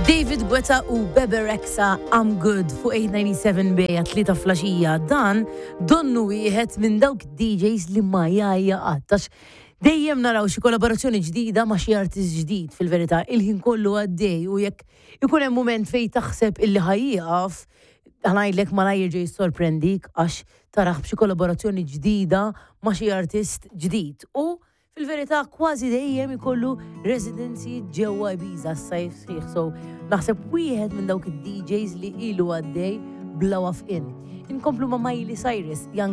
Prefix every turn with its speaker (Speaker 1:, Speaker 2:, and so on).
Speaker 1: David Guetta u Bebe Rexha I'm Good fuq 897 bejja tlieta flaxija dan donnu wieħed minn dawk DJs li ma jgħajja qatt għax dejjem naraw xi kollaborazzjoni ġdida ma' xi artist ġdid fil-verità il-ħin kollu għaddej u jekk ikun hemm mument fejn taħseb illi ħa jieqaf ħa ngħidlek malajr jerġa' jissorprendik għax tarah b'xi kollaborazzjoni ġdida ma' xi artist ġdid. U fil-verità kważi dejjem ikollu residency ġewwa Ibiza s-sajf sħiħ. So naħseb wieħed minn dawk id-DJs li ilu għaddej bla wafqin. Inkomplu ma' Miley Cyrus, Young.